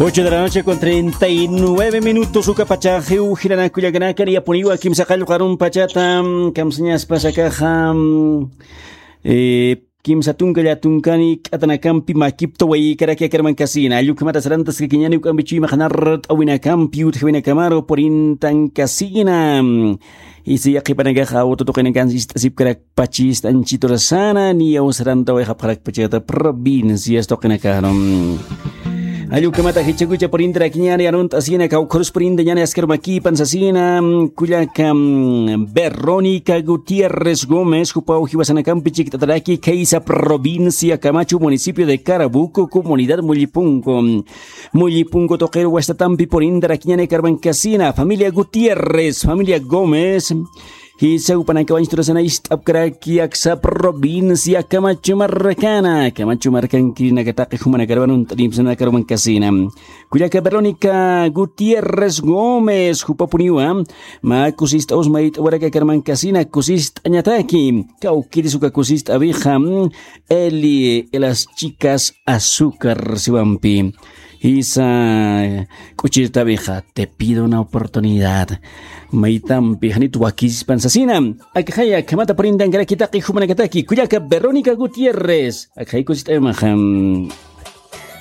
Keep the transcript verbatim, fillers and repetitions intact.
Ocho de la noche con treinta y nueve minutos, uka pachaxiw jilanaka kullakanaka, niyapuniwa kimsa qallqu arum pachata, mm, kamsañaspas akaxa, mm, eh, kimsa tunka llatunkani k'atanakampi makipta waykaraki akarmankasina. Allukhamata sarantaskakiñani uk'ampi chuymaqanar t'awinakampi utjawinakamaru purintankasina. Isi yaqhipanakaxa awtu tuqinakan ist'asipkarak pachista anchiturasana, niyaw sarantawayxapxarakpachata provincias tuqinakaru. Allukhamata jichhakucha purintarakiñani arunt'asina, kawkhurus purintañani askarumakipan sasina, kullaka, mm, Verónica Gutiérrez Gómez, jupaw jiwasanakampi chikt'ataraki, khaysa provincia Camacho, municipio de Carabuco, comunidad Mullipunco. Mullipunco tuqiru wastatampi purintarakiñani akarmankasina, familia Gutiérrez, familia Gómez. Jisa jupanakaw anchiturasana ist'apkaraki aksa provincia Camacho markana. Camacho markankirinaka taqi jumanakaru arunt'anipsanakaru mankasina. Kullaka Verónica Gutiérrez Gómez, jupapuniwa mä kusist'aw usmayt'awaraki akarmankasina, kusist'añataki. Kawkïris uka kusist'awixa, mm, Eli, las chicas azúcar siwampi. Jisa k'uchirtawixa, te pido una oportunidad. Maytampi janit wakispan sasina. Akxaya, akhamata purintankaraki taqi jumanakataki, kullaka Verónica Gutiérrez. Akxay kusist'awimaxa.